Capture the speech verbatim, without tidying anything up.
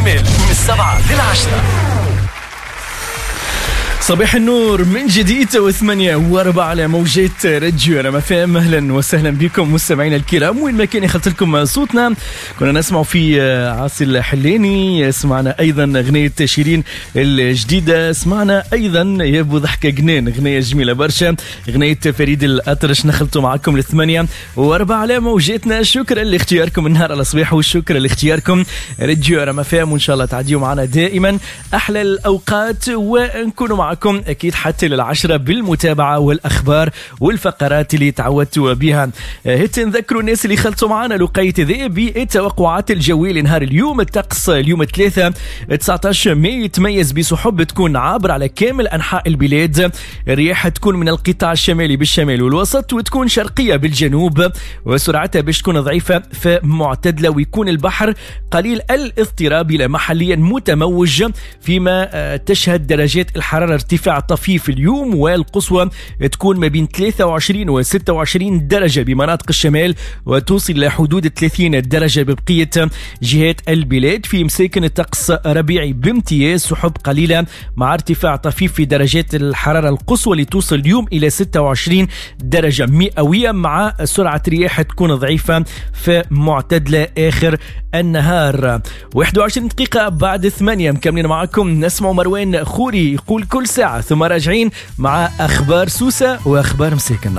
الشمال من السبعة للعشرة. صباح النور من جديد وثمانية وأربعة على موجات راديو رام اف ام. أهلا وسهلا بكم مستمعينا الكرام وين ما كان يخلط لكم صوتنا. كنا نسمع في عاصي الحلاني، سمعنا أيضا أغنية شيرين الجديدة، سمعنا أيضا يا أبو ضحكة جنان، أغنية جميلة برشا، أغنية فريد الأطرش. نخلطوا معكم لثمانية وأربعة على موجاتنا. شكرا لاختياركم النهار على صباح، وشكرا لاختياركم راديو رام اف ام، وإن شاء الله تعديوا معنا دائما أحلى الأوقات ونكونوا معكم أكيد حتى للعشرة بالمتابعة والأخبار والفقرات اللي تعودتوا بها. هت نذكروا الناس اللي خلطوا معنا لقيت ذي بالتوقعات الجوية لنهار اليوم. الطقس اليوم ثلاثة تسعة عشر ماي يتميز بسحب تكون عابرة على كامل أنحاء البلاد. الرياح تكون من القطاع الشمالي بالشمال والوسط، وتكون شرقية بالجنوب، وسرعتها باش تكون ضعيفة فمعتدلة، ويكون البحر قليل الاضطراب إلى محليا متموج، فيما تشهد درجات الحرارة ارتفاع طفيف اليوم، والقصوى تكون ما بين ثلاثة وعشرين و ستة وعشرين درجة بمناطق الشمال، وتوصل إلى حدود ثلاثين درجة ببقية جهات البلاد. في مساكن الطقس ربيعي بامتياز، سحب قليلة مع ارتفاع طفيف في درجات الحرارة القصوى اللي توصل اليوم إلى ستة وعشرين درجة مئوية، مع سرعة رياح تكون ضعيفة فمعتدلة آخر النهار. واحد وعشرين دقيقة بعد ثمانية مكملين معكم، نسمع مروان خوري يقول كل ساعة، ثم راجعين مع أخبار سوسة وأخبار مساكن.